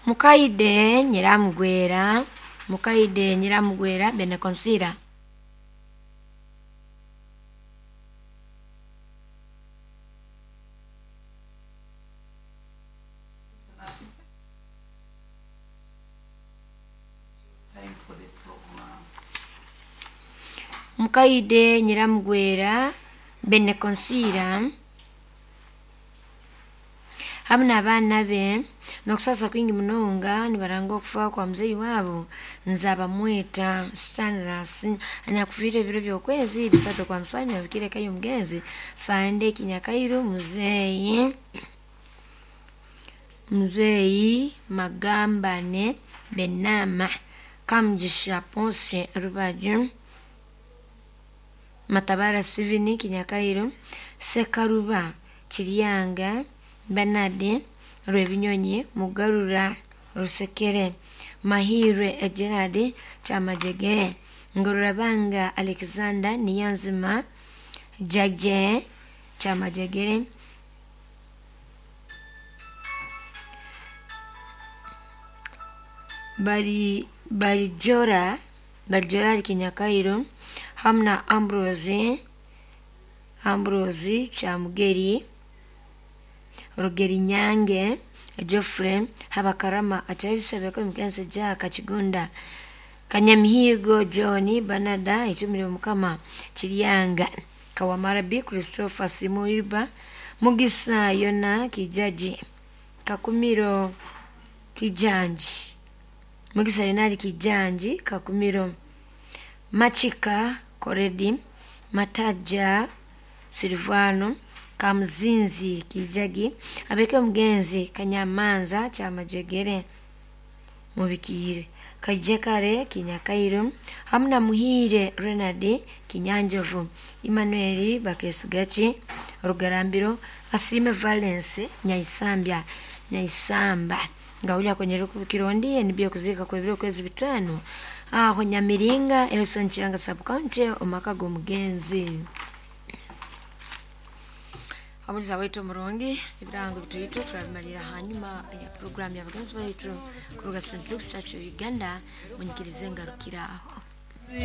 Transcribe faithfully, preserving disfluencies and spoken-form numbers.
Mukaide Nyiramugwera, Mukaide Nyiramugwera Benekonsira. Time for the program. Mukaide Nyiramugwera Benekonsira hamu n'abaana be n'okusasa kwingi munonga nibaranga okufa kwa muzeeyi waabo Nzabamweta Stanlas anyakufiire ebiro by'okwezi bisatu kwa musanju abikire eka y'omugenzi Sande Kinyakairu muzeeyi muzeeyi Magambane Benama Kamugisha Ponce Rubaju Matabara Steven Kinyakairu Sekaruba Kiryanga Bernard Rwebinyonyi Mugarura Rusekere Mahirwe Gerard Kyamajegere Ngororabanga Alexander Niyonzima Jaje Kyamajegere Bari Barijora Barijora ali Kinyakairu hamu na Ambrose Ambrose Kyamugeri Rugeri Nyange Geoffrey Habakarama akyayisabeko omugenzi Jack Kigunda Kanyamihigo John Banada Itumire Mukama Kiryanga Kawamara B Christopher Simuiba Mugisa Yona Kijaji Kakumiro Kijanji Mugisa Yona ali Kijanji Kakumiro Machika Koredi Mataja Silvano Kamuzinzi Kijagi abeke omugenzi Kanyamanza Kyamajegere Mubikiire Kajekare Kinyakairu hamu na Muhiire Renard Kinyanjovu Emmanuel Bakesigaki Rugarambiro Asiime Valence Nyaisambya Nyaisamba nga kwenye rukubikiro nibyo kuziika kwebiro kwezi bitaano aho Nyamiringa Elson Kiranga sub county omaka g'omugenzi. Omuliza waitu omurungi ebirango bituitu turabimalira hanyuma ya programu ya bagenzi baitu kuruga Saint Luke's Church of Uganda munyikirize ngarukira aho.